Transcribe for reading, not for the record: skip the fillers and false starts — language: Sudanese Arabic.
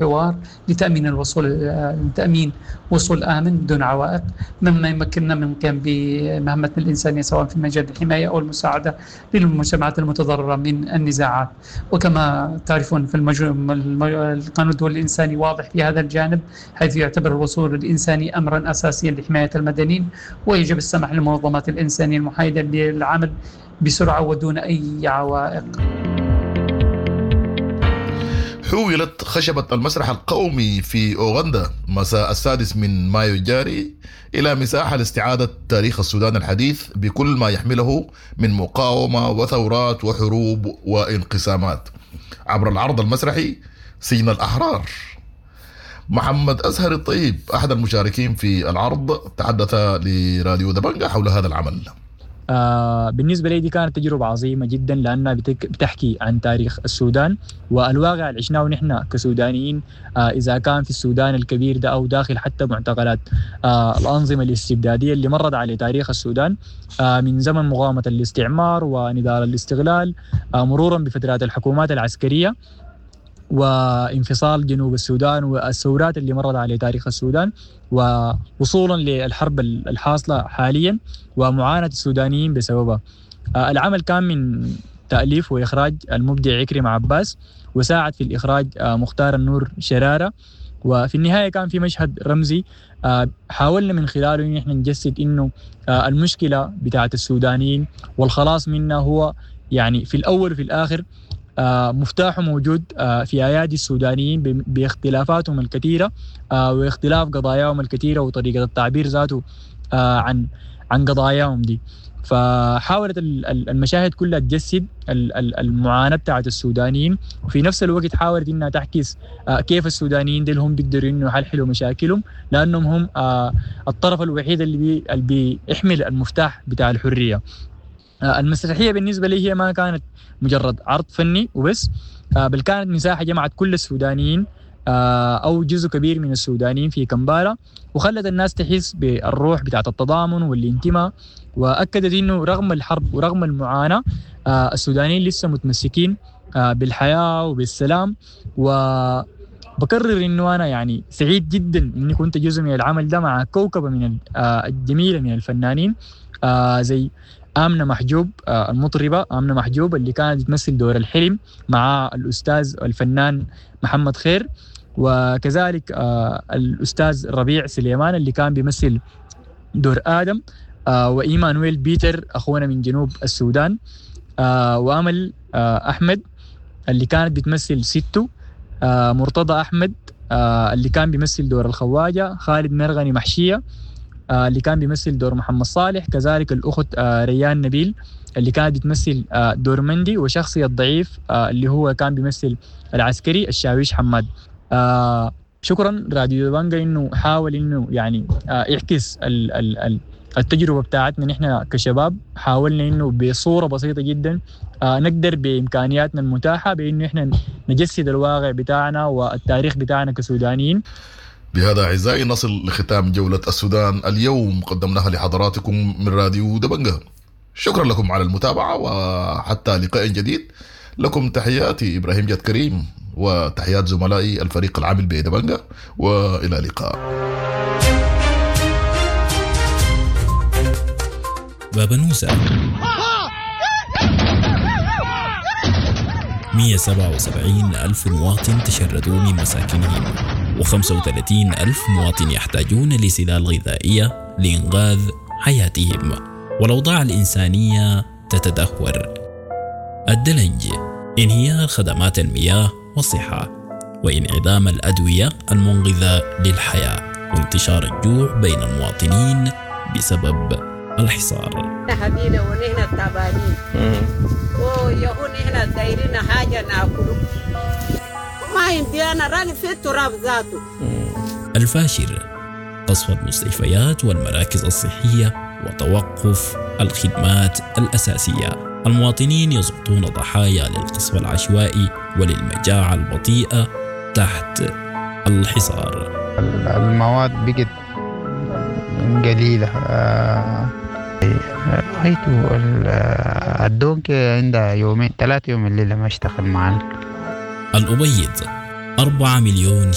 الحوار لتأمين الوصول، لتأمين وصول آمن بدون عوائق، مما يمكننا من القيام بمهمتنا الإنسانية سواء في مجال الحماية أو المساعدة للمجتمعات المتضررة من النزاعات. وكما تعرفون في القانون الدولي الإنساني واضح في هذا الجانب، حيث يعتبر الوصول الإنساني أمرا أساسيا لحماية المدنيين، ويجب السماح للمنظمات الإنسانية المحايدة للعمل بسرعة ودون أي عوائق. حولت خشبة المسرح القومي في أوغندا مساء 6 من مايو الجاري إلى مساحة لاستعادة تاريخ السودان الحديث بكل ما يحمله من مقاومة وثورات وحروب وانقسامات عبر العرض المسرحي سجن الأحرار. محمد أزهر الطيب أحد المشاركين في العرض تحدث لراديو دبنجة حول هذا العمل. بالنسبة لي دي كانت تجربة عظيمة جدا، لأنها بتحكي عن تاريخ السودان والواقع اللي عشناه نحن كسودانيين، إذا كان في السودان الكبير ده أو داخل حتى معتقلات الأنظمة الاستبدادية اللي مرت على تاريخ السودان من زمن مقاومة الاستعمار ونضال الاستغلال، مرورا بفترات الحكومات العسكرية وانفصال جنوب السودان والثورات اللي مرت على تاريخ السودان، ووصولا للحرب الحاصلة حاليا ومعاناة السودانيين بسببها. العمل كان من تأليف وإخراج المبدع عكرم عباس، وساعد في الإخراج مختار النور شرارة. وفي النهاية كان في مشهد رمزي حاولنا من خلاله إن احنا نجسد إنه المشكلة بتاعت السودانيين والخلاص منها هو يعني في الأول وفي الآخر مفتاحه موجود في أيادي السودانيين باختلافاتهم الكثيرة واختلاف قضاياهم الكثيرة وطريقة التعبير ذاته عن قضاياهم دي. فحاولت المشاهد كلها تجسد المعاناة بتاعت السودانيين، وفي نفس الوقت حاولت إنها تعكس كيف السودانيين دي هم بيقدروا إنه يحلحلوا مشاكلهم، لأنهم هم الطرف الوحيد اللي بيحمل المفتاح بتاع الحرية. المسرحية بالنسبة لي هي ما كانت مجرد عرض فني وبس، بل كانت مساحة جمعت كل السودانيين أو جزء كبير من السودانيين في كمبالا، وخلت الناس تحس بالروح بتاعت التضامن والانتماء، وأكدت إنه رغم الحرب ورغم المعاناة السودانيين لسه متمسكين بالحياة وبالسلام. وبكرر إنه أنا يعني سعيد جدا إني كنت جزء من العمل ده مع كوكبة من الجميلة من الفنانين زي آمنة محجوب، المطربة آمنة محجوب اللي كانت تمثل دور الحلم مع الأستاذ الفنان محمد خير، وكذلك الأستاذ ربيع سليمان اللي كان بيمثل دور آدم، وإيمانويل بيتر أخونا من جنوب السودان، وأمل أحمد اللي كانت بتمثل ستو، مرتضى أحمد اللي كان بيمثل دور الخواجة، خالد مرغني محشية اللي كان بيمثل دور محمد صالح، كذلك الأخت ريان نبيل اللي كانت بتمثل دور مندي، وشخصية الضعيف اللي هو كان بيمثل العسكري الشاويش حماد. شكرا راديو دبنجة إنه حاول إنه يعني يعكس التجربة بتاعتنا نحن كشباب. حاولنا إنه بصورة بسيطة جدا نقدر بإمكانياتنا المتاحة بإنه إحنا نجسد الواقع بتاعنا والتاريخ بتاعنا كسودانيين. بهذا أعزائي نصل لختام جولة السودان اليوم قدمناها لحضراتكم من راديو دبنجة. شكرا لكم على المتابعة، وحتى لقاء جديد لكم تحياتي إبراهيم جاد كريم وتحيات زملائي الفريق العامل بدبنجة، وإلى اللقاء. بابنوسة 177 ألف مواطن تشردوا من مساكنهم، و35 ألف مواطن يحتاجون لسلال غذائية لإنقاذ حياتهم، والأوضاع الإنسانية تتدهور. الدلنج، انهيار خدمات المياه والصحة، وانعدام الأدوية المنقذة للحياة، وانتشار الجوع بين المواطنين بسبب الحصار. حبينا ونحن تعبانين ويهون نحن دايرين حاجة ناكله ما عندي أنا راني في التراب ذاته. الفاشر، قصف المستشفيات والمراكز الصحية وتوقف الخدمات الأساسية. المواطنين يسقطون ضحايا للقصف العشوائي وللمجاعة البطيئة تحت الحصار. المواد بقت قليلة. رأيته الدونك عندها يومين 3 يوم الليلة ما اشتغل معنا. الأبيض، 4 مليون